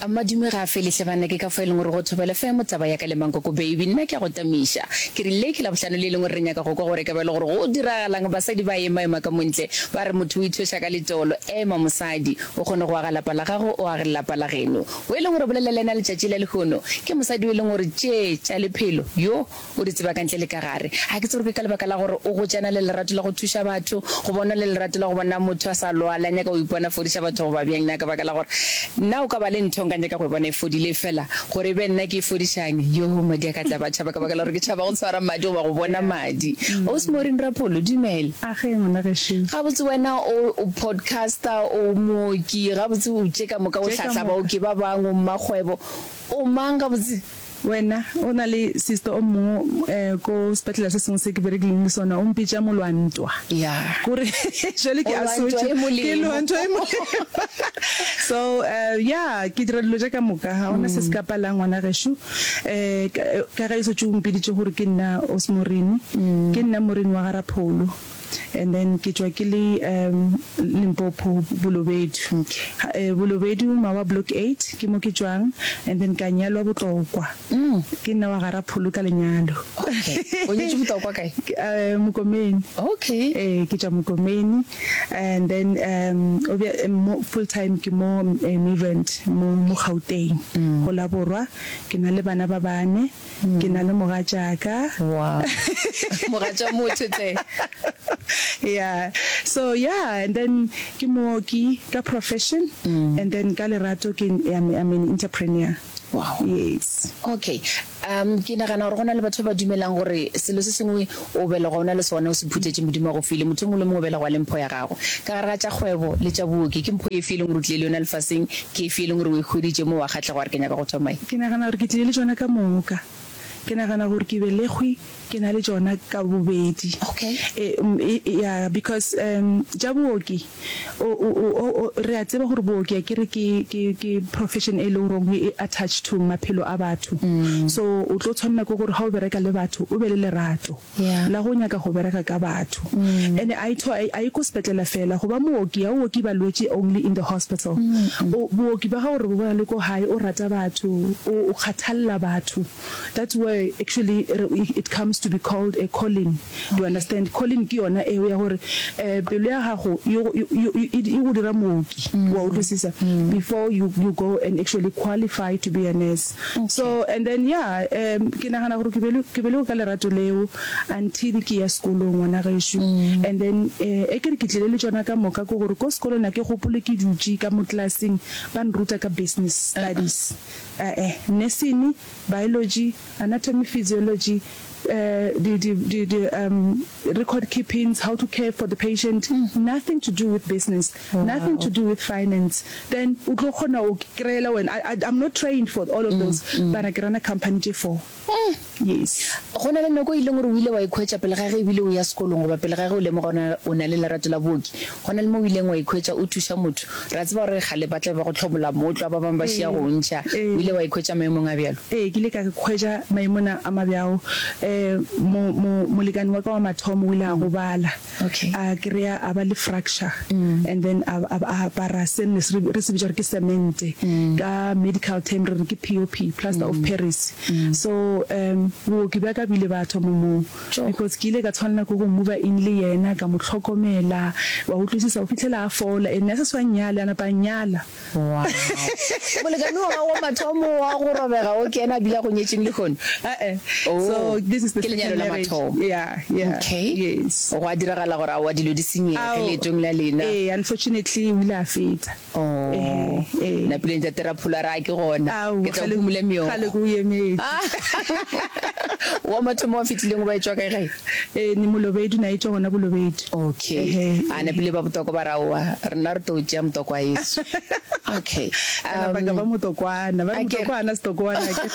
Madume ga a fele hle banna ke ka fao e leng gore go Thobela FM taba ya ka le Mankoko baby nna ke a go tamiša. Ke re le ke Labohlano le e leng gore re nyaka go kwa gore e ka ba e le gore go diragalang basadi ba ema ema ka montle ba re motho o ithweša ka letolo ema mosadi o kgone go aga lapa la gago o age lapa la geno. O e leng gore bolela le yena letšatši la lehono ke mosadi o e leng gore tše tša lephelo yo O di tseba ka ntle le ka gare. Ga ke tsebe gore ke ka lebaka la gore o gotše a na le lerato la go thuša batho, goba o na le lerato la go bona motho a sa lwale, a nyaka go ipona a fodiša batho goba bjang. Na ka baka la gore nna o ka ba le ntho nka nyaka go e bona e fodile, efela gore e be nna ke e fodišang, yoo, madi a ka tla ba tšhaba ka baka la gore ke tšhaba go tshwara madi goba go bona madi. Ausi Maureen Rapholo, dumela. Age, ngwana gešo. Gabotse wena o, o podcaster, o mooki, gabotse o tše ka moka, o Tše ka hlahla moka. baoki ba bangwe, o mmakgwebo. O mang gabotse? Wena, o na le sister o mongwe ko sepetlele se sengwe se ke berekileng le sona, o mpitša molwantwa. Yeah. Kore jwale ke O lwa ntwa a e molemo. Ke lwa ntwa e molemo. So, yeah, ke dira dilo tše ka moka, ga gona se se ka palang ngwana gešo. Ka ge e šetše o mpiditše gore ke nna Osmorene, ke nna Morene wa ga Rapholo. And then ke tšwa ke le Limpopo, Bolobedu. Bolobedu, Mawa Block 8, ke mo ke tšwang. And then ka nyalwa Botlokwa. Ke nna wa ga Rapholo ka lenyalo. Okay. O nyetšwe Botlokwa kae? Mokomeni. Okay. Ee, ke tšwa Mokomeni. And then mo full time ke mo Midrand, mo mo Gauteng, go la Borwa. Ke na le bana ba bane. Ke na le mogatšaka. Wow. Mogatša motho tle. Yeah. So yeah, and then ke mooki ka profession and then ka lerato ke I'm, I'm an entrepreneur. Wow. Yes. Okay. Um ke nagana gore go na le batho ba ba dumelang gore selo se sengwe o belegwa o na le sona o se phuthetše Modimo a go file. Motho yo mongwe le mongwe o belegwa le mpho ya gagwe. Ka gare ga tša kgwebo le tša booki, ke mpho efe e leng gore o tlile le yona lefaseng? Ke efe e leng gore o e hweditše mo wa kgahlega wa re ke nyaka go thoma ye? Ke nagana gore ke tlile le tšona ka moka. Ke nagana gore ke belegwe ke na le tšona ka bobedi. Okay. E, e, yeah, because um, tša booki, o, o, o, o, re a tseba gore booki akere ke, ke, ke profession e leng gore e attached to maphelo a batho. So o tlo tshwanela ke gore ga o bereka le batho o be le lerato. Yeah. La go nyaka go bereka ka batho. And a e tho, a e ko sepetlela fela. Go ba mooki, ga o oke balwetši only in the hospital. O, booki ba gago re bo bona le ko gae, o rata batho, o, o kgathalla batho. That's where actually re, it comes to be called a calling. Do you understand? Calling ke yona eo ya gore eh, pelo ya gago e go, e, e, e, e go dira mooki. Wa utlwisisa? Before you, you go and actually qualify to be a nurse. So and then yeah um ke nagana gore ke be ke belegwe ka lerato leo until ke ya sekolong ngwana gešo and then eh e ke re ke tlile le tšona ka moka ke gore ko sekolong a ke gopole ke dutše ka mo classeng ba nruta ka business studies eh nursing, biology, anatomy, physiology di di di di um record keepings, how to care for the patient, nothing to do with business, nothing to do with finance. Then o tlo kgona go kry-ela wena. I, I, I'm not trained for all of those, but ke run-a company tše four. Yes. Go na le nako e ileng gore o ile wa ikhwetša pele ga ge ebile o ya sekolong goba pele ga ge o lemoga o o na le lerato la booki, go na le mo o ileng wa ikhwetša o thuša motho. Re a tseba gore kgale ba tla be ba go hlobola mootlwa, ba bangwe ba šia go o ntšha. O ile wa ikhwetša maemong a bjalo? Ee, ke ile ka ikhwetša maemong a mabjao. Mo, mo, molekane wa ka wa mathomo o ile a gobala. Okay. A kry-a a ba le fracture and then a, a, a apara se ne se re se bitša gore ke semente. Ka medical term re re ke POP, plaster of Paris. So, um, booki bja ka bo ile ba thoma moo. Because ke ile ka tshwanela ke go mover in le yena, ka mo hlokomela, wa utlwisisa, go fihlela a fola. And ne a sa swa nnyale, a napa a nnyala. Wow. Molekane wa gago wa mathomo wa go robega o ke yena a bile a go nyetšeng lehono? Eh-eh. Oh, So this is the ke lenyalo second la marriage. mathomo. Yeah, yeah. Okay. Yes. Gwa diragala gore aowa dilo di senyege Ao, leetong la lena. ee, unfortunately o ile a feta. Oh, Ehe, ee. napile Ntate Rapholo a re a ke gona, Ao, ke tla kgale, phumula meokgo. kgale ke o emetše. Wa mathomo wa fetileng o ba etšwa kae gae? Ee, ne Molobedu, na etšwa gona Bolobedu. Okay. Ehe, A ee. napile ba Botokwa ba re aowa, rena re tlo tšea Motokwa wa yesu. Okay. Ka napa ka ba Um, Motokwana, ba re a ke re. Motokwa hana Setokwana akere.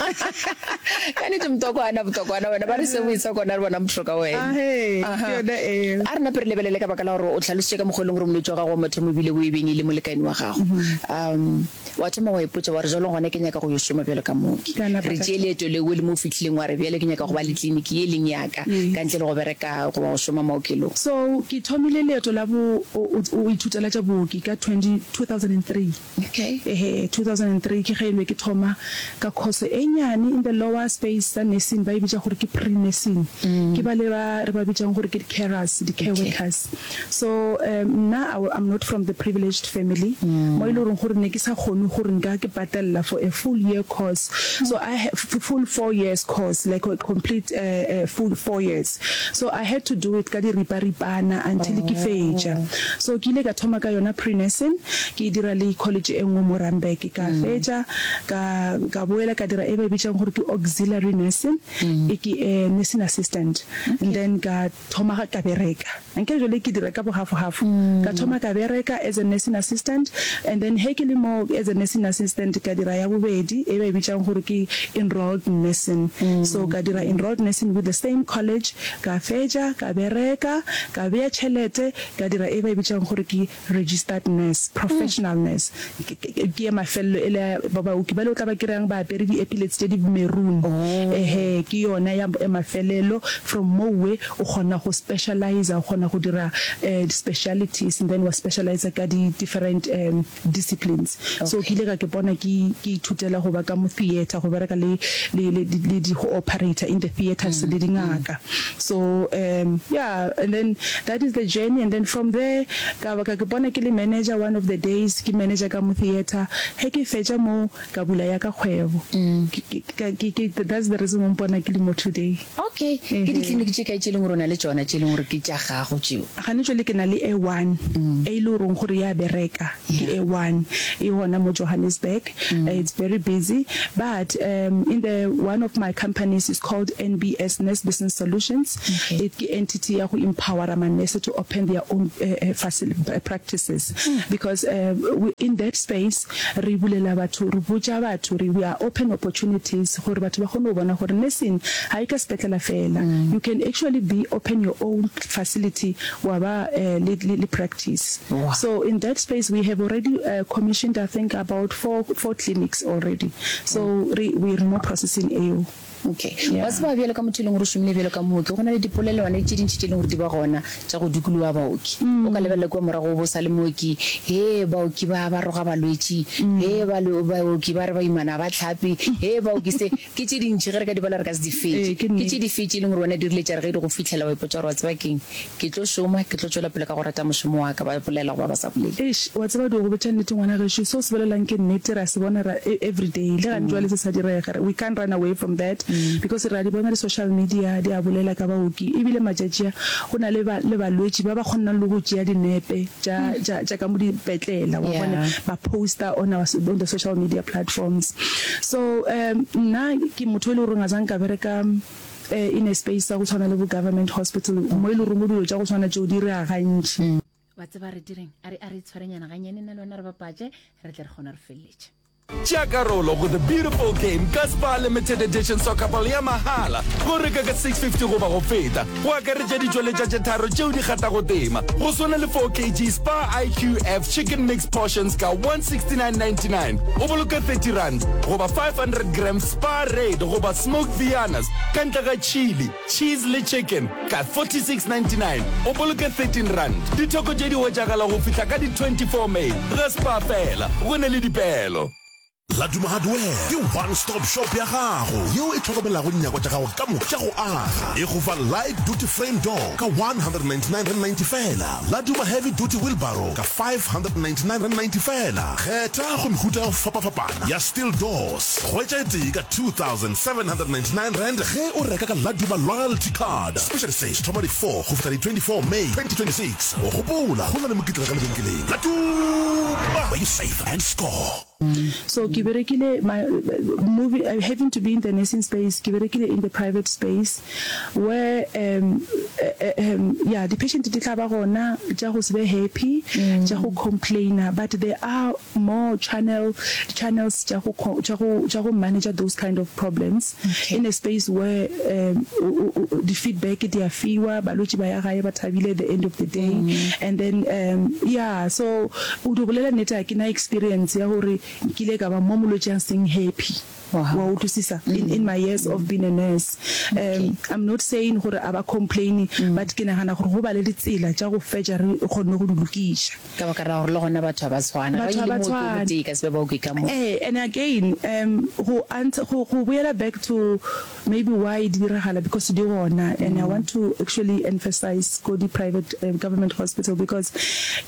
Ka nnete Motokwa hana Botokwana wena, ba re se boisa kona re bona motho ka wena. Ahee, ke Aha. yona eo. A re nape re lebelele ka baka la gore o hlalositše ka mokgwa e leng gore molwetši wa gago wa mathomo e bile o e beng e le molekane wa gago. Um, wa thoma wa ipotša wa re jwalo gona ke nyaka go yo šoma bjalo ka mooki. Ka napa Re ka tšee leeto leo le mo o fihlileng wa re bjale ke nyaka. nyaka go ba le tleliniki ye e leng ya ka, ka ntle le go bereka goba go šoma maokelong? So ke thomile leeto la bo o ithutela tša booki ka 20, 2003. Okay. Ehe, 2003 ke ge e be ke thoma ka course e nyane in the lower space sa nursing, ba e bitša gore ke pre-nursing. Ke bale ba re ba bitšang gore ke di-carers, di-care workers. So um nna I, I'm not from the privileged family, mo e le goreng gore ne ke sa kgone gore nka ke patella for a full year course. So I, full four years course, like a complete uh, uh, full four years. So I had to do it ka diriparipana until ke fetša. So ke ile ka thoma ka yona pre-nursing, ke e dira le college e nngwe mo Randburg. Ka fetša, ka, ka boela ka dira e ba e bitšang gore ke auxiliary nursing, e ke nursing assistant. And then ka thoma ka bereka. Ankere jwale ke dira ka bo half-half. Ka thoma ka bereka as a nursing assistant, and then he ke le mo as a nursing assistant ka dira ya bobedi e ba e bitšang gore ke enrolled nursing. So ka dira enrolled nursing with the same college, ka fetša, ka bereka, ka bea tšhelete, ka dira e ba e bitšang gore ke registered nurse, professional nurse. Ke, ke, ke ye mafelelo e le ya ba baoki bale o tla ba kry-ang ba apere di-epaulets tše di maroon. Ehe, ke yona ya, ya mafelelo. From mowe o kgona go specializer, o kgona go dira di-specialities and then wa specializer ka di-different disciplines. So ke ile ka ke bona ke, ke ithutela go ba ka mo theatre, go bereka le, le, le, le di, go operator in the theatres le dingaka. So um yeah and then that is the journey and then from there ka ba ka ke bona ke le manager one of the days ke manager ka mo theatre ge ke fetša mo ka bula ya ka kgwebo ke ke ke that's the reason o mpona ke le mo today. Okay, ke ditleliniki tše kae tše e leng gore o na le tšona tše e leng gore ke tša gago tšeo? Gane jwale ke na le e one e le goreng gore ya bereka ke e one e gona mo Johannesburg it's very busy but um in the one of my companies is called NBS Nurse Business Solutions it ke entity ya go empowera ma nurse to open their own uh, uh, practices because uh, we, in that space re bulela batho re botša batho re we are open opportunities gore batho ba kgone go bona gore nursing ga e ka sepetlela fela you can actually be open your own facility wa ba uh, le, le, le practice wow. so in that space we have already uh, commissioned I think about four, four clinics already so re, we re mo processing eo. Okay. Wa tseba bjalo ka motho e leng gore o šomile bjalo ka mooki, go na le dipolelwana tše dintši tše e leng gore di ba gona tša go dikologa baoki. O ka lebelela kua morago o bo sa le mooki, hee baoki ba ba roga balwetši, hee baoki ba re baimana ga ba hlape, hee baoki se. Ke tše dintši, ge re ka di bala re ka se di fetše. Ke tše dife tše e leng gore wena di rile tša re ge di go fihlela wa ipotša gore wa tseba ke'ng, ke tlo šoma, ke tlo tšwela pele ka go rata mošomo wa ka, ba bolela goba ba sa bolele? Eish, wa tseba do go botša nnete ngwana gešo, se o se bolelang ke nnete, re a se bona ra everyday, le gane jwale se sa direga, we can't run away from that because re a di bona di social media di a bolela ka baoki, ebile matšatši a go na le ba le balwetši ba ba kgonang le go tšea dinepe tša tša tša ka mo dipetlela, wa bona, ba poster on our on the social media platforms. So um nna ke motho e le goreng a zange ka bereka in a space sa go tshwana le bo government hospital mo e le goreng dilo tša go tshwana tšeo di rea gantši. Wa tseba re direng? A re a re itshwarenyana ganyane nna le wena re bapatše re tle re kgone re feleletše. Tšea karolo go The Beautiful Game ka Spar Limited Edition Soccer Ball ya mahala go reka ka 650 goba go feta, go akaretša ditšweletša tše tharo tšeo di kgathago tema, go swana le 4 kg Spar IQF Chicken Mix Portions ka 169.99 o boloke R30 goba 500 grams Spar Red goba Smoked Viennas ka ntle ga chili, cheese le chicken ka 46.99 o boloke R13. Ditheko tše di hwetšagala go fihla ka di 24 May ga Spar fela, go ne le dipeelo. Laduma Hardware ke one stop shop ya gago yeo e hlokomelago dinyakwa tša gago ka moka tša go aga. E go fa light duty frame door ka R199.90 feela, Laduma heavy duty wheelbarrow ka R599.90 feela. Kgetha go mehuta ya go fapafapana ya steel doors. Hwetša e tee ka R2,799 ge o reka ka Laduma loyalty card. Special se se thoma di 4 go fihla di 24 May 2026. Gopola, go na le mokitlana ka lebenkeleng. Laduma, where you save and score. So ke berekile my moving having to be in the nursing space ke berekile in the private space where um um yeah di patient di tla ba gona tša go se be happy tša go complainer but there are more channel channels tša go tša go tša go manager those kind of problems in a space where um di feedback di a fiwa balwetši ba ya gae ba thabile at the end of the day and then um yeah so o di bolela nnete ga ke na experience ya gore. Nkile ka ba mo molwetši a seng happy. Wa utlwisisa? In, in my years of being a nurse. Um, I'm not saying gore a ba complain, but ke nagana gore go ba le ditsela tša go fetša re kgonne go di lokiša. Ka baka la gore le gona batho ga ba tshwane. Batho ga ba tshwane. Ga e le mooki o motee e ka se be baoki ka moka. Ee, and again, um, go answer, go, go boela back to Maybe why di diragala because di gona and I want to actually emphasize ko di private government hospital because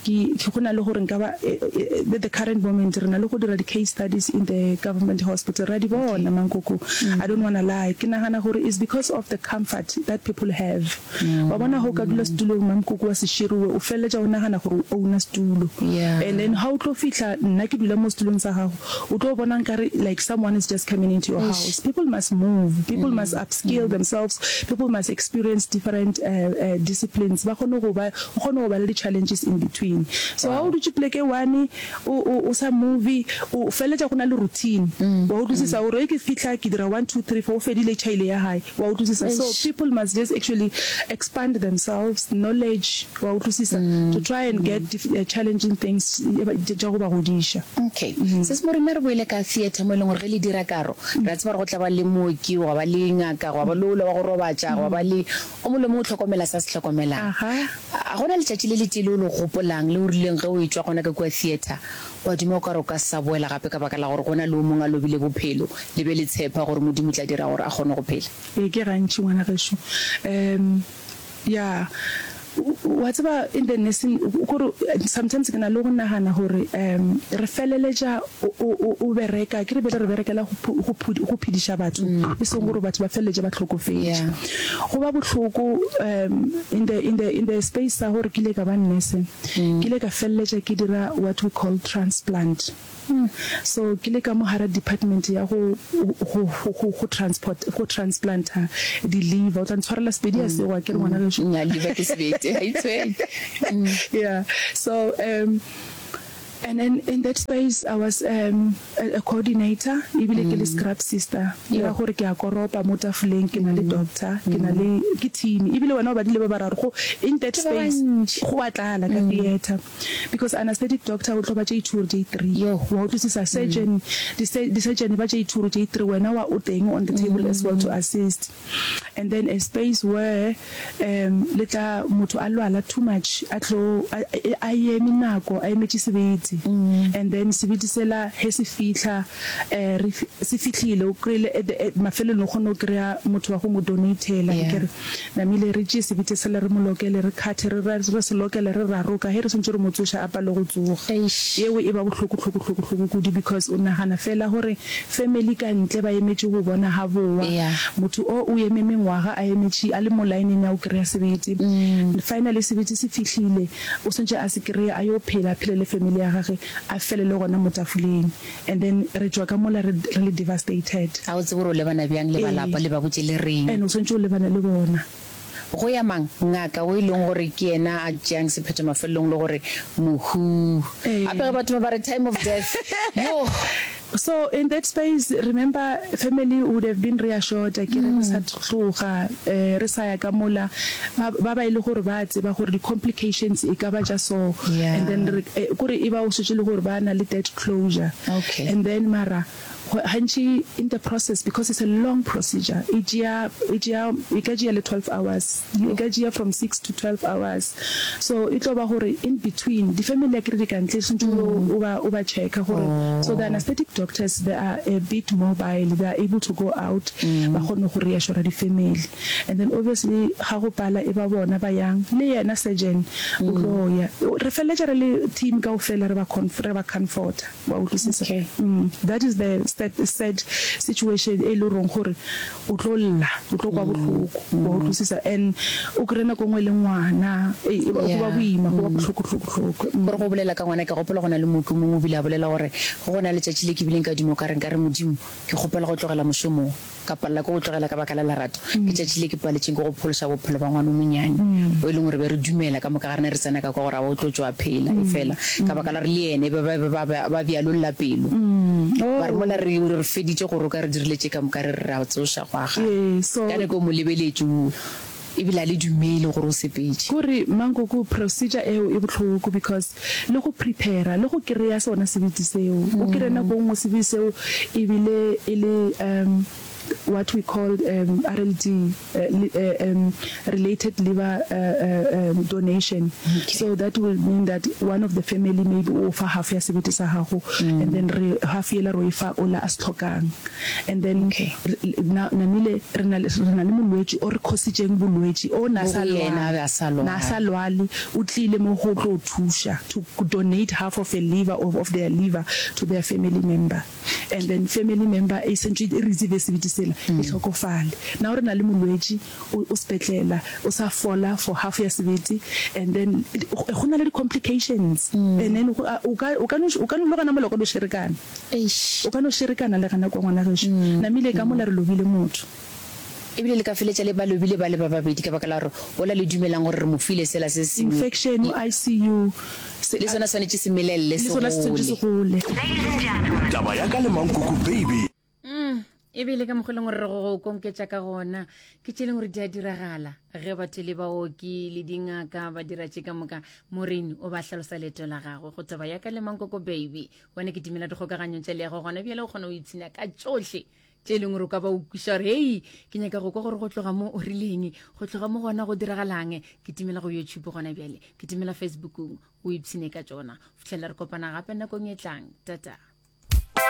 ke go na le gore nka ba at the current moment re na le go dira di case studies in the government hospital ra di bona mankoko I don't wanna lie ke nagana gore is because of the comfort that people have wa bona ha o ka dula setulong mamkoko wa seširiwe o feleletša o nagana gore o owner setulo and then ha o tlo fihla nna ke dula mo setulong sa gago O tlo bona nkare like someone is just coming into your house. People must move, people must upskill themselves, people must experience different disciplines, ba kgone go ba, o kgone go ba le di challenges in between. So ha o dutše poleke e one o o o sa move, o feleletša go na le routine. Wa utlwisisa gore ge ke fihla ke dira one, two, three, four, o fedile tšhaile ya hae. Wa utlwisisa? So people must just actually expand themselves, knowledge, wa utlwisisa, to try and get challenging things tša go ba godiša. Okay. Sis Morena re boele ka theatre mo e leng gore ge le dira karo, re a tseba gore go tla ba le mooki, gwa ba le ngaka, gwa ba le ola wa go robatša, gwa ba le o mongwe le mongwe o hlokomela se a se hlokomelang. A go na letšatši le letee le o le gopolang le o rileng ge o etšwa gona ka kua theatre wa duma o ka re o ka se sa boela gape ka baka la gore go na le o mongwe a lobile bophelo le be le tshepa gore Modimo o tla dira gore a kgone go phela? Ee, ke gantši ngwana gešo. Um, ya, wa tseba in the nursing, kore sometimes ke na le go nagana gore um re feleletša o, o, o bereka, ke re bjale re berekela go, go, go phediša batho, e seng gore batho ba feleletše ba hlokofetše. Go ba bohloko um in the, in the, in the space sa gore ke ile ka ba nurse, ke ile ka feleletša ke dira what we call transplant. So ke le ka mo gara department ya go go go go transport go transplanta di liver. O tla ntshwarela Sepedi a sego akere ngwana gešo? Nnya liver ke sebete ga itshwenye. Yeah so um and then in that space I was um a, a coordinator ebile ke le scrub sister. E ra gore ke a koropa mo tafoleng ke na le doctor ke na le ke team ebile wena o badile ba bararo go in that space go a tlala ka theatre. Because anaesthetic doctor o tlo ba tše two or tše three. Wa utlwisisa? Surgeon, di di surgeon ba tše two or tše three, wena wa o teng on the table as well to assist. And then a space where um le tla motho a lwala too much a tlo a a eme nako a emetše sebete. And then sebete sela he se fihla eh re se fihlile o kry-ile at the mafelelong o kgone go kry-a motho wa go mo donate-ela akere. Namile re tšee sebete sela re mo lokele, re khathe, re re se lokele, re raroka, ge re swantše re mo tsoša a pale go tsoga. Yeo e ba bohloko hloko hloko hloko kudu because o nagana fela gore family ka ntle ba emetše go bona ga bowa. Motho o o eme mengwaga a emetše a le mo line-eng ya go kry-a sebete. Finally sebete se fihlile, o swantše a se kry-e a yo phela, a phele le family ya gage, a felele gona mo tafoleng. And then re tšwa ka mola re re le devastated. Ga o tsebe gore o lebana bjang le ba lapa, le ba botše le reng. And o swanetše o lebane le bona. Go ya mang? Ngaka o e leng gore ke yena a tšeang sephetho mafelelong le gore mohu. Gape ge batho ba ba re time of death, yoh! So in that space, remember family would have been reassured akere re sa tloga, re sa ya ka mola, ba ba ba e le gore ba a tseba gore di complications e ka ba tša so. And then re, kore e ba o šetše le gore ba na le that closure. Okay. And then mara gantši in the process because it's a long procedure e tšea e tšea e ka tšea le 12 hours e ka tšea from 6 to 12 hours so e tlo ba gore in between di family akere di ka ntle swantše o ba o ba checka gore so the anesthetic doctors they are a bit mobile they are able to go out ba kgone go reassura di family And then obviously ga go pala e ba bona ba yang, le yena surgeon o tlo ya. Re feleletša re le team kaofela re ba re ba comforta, wa utlwisisa? Okay. That is the sad, sad situation e le goreng gore o tlo lla, o tlo kwa bohloko, wa utlwisisa? And o kry-e nako nngwe le ngwana, ei go ba boima, go ba bohloko hloko hloko. Gore go bolela ka ngwana, ke gopola go na le mooki o mongwe o bile a bolela gore go na letšatši le ke bileng ka duma o ka re nkare Modimo ke kgopela go tlogela mošomo wo. Ka palela ke go tlogela ka baka la lerato. Ke tšatši le ke paletšeng ke go phološa bophelo ba ngwana o monyane o e leng gore be re dumela ka moka ga rena re tsena ka kwa gore aowa o tlo tšwa a phela. Efela ka baka la gore le yena e be ba be ba ba bjalolla pelo. Ba re mola re re feditše go roka re dirile tše ka moka re re re a tsoša go aga. Ka nako o mo lebeletše o. Ebile a le dumele gore o sepetše. Kore mankoko procedure eo e bohloko because le go prepare le go kereya sona sebete seo o kere nako nngwe sebete seo ebile e le um what we call um RLD uh, um related liver uh, um, donation okay. so that will mean that one of the family maybe o fa half ya sebete sa gago mm. and then re half yela ro e fa ola a se tlhokang And then Okay. na, namile re na le, re na le molwetši o re khositšeng bolwetši, o na Mo sa go yena a be a sa lwale, na sa lwale, o tlile mo go tlo thuša, to donate half of a liver, of, of their liver to their family member. And then family member e sentše e receive sebete sela, e hlokofale. Now re na le molwetši, o, o sepetlela, o sa fola for half ya sebete, and then go na le di complications. And then go, o ka, o ka no, o ka no le gona mola o ka no šerekana. Eish. O ka no šerekana le gana kwa ngwana gešo. Namile ka mola re lobile motho. Ebile le ka feletša le ba lobile ba le ba babedi ka baka la gore wola le dumelang gore re mo file sela se sengwe. Infection, ICU, se, Le sona swanetše se melelele le se sona se swanetše se gole. gole. Taba ya ka le Mankoko Baby. Mm, e be le ka mokgwa e leng gore re go konketša ka gona ke tše e leng gore di a diragala ge batho le baoki le dingaka ba dira tše ka moka morin o ba hlalosa leeto la gagwe go taba ya ka le mankoko baby wena ke timela dikgokaganyong tša leago gona bjale o kgona go ipshina ka tšohle tše e leng gore o ka ba o kwiša gore hei ke nyaka go kwa gore go tloga mo o rileng go tloga mo gona go diragalang ke timela go youtube gona bjale ke timela facebookong o ipshine ka tšona fitlhelela re kopana gape nakong e tlang tata.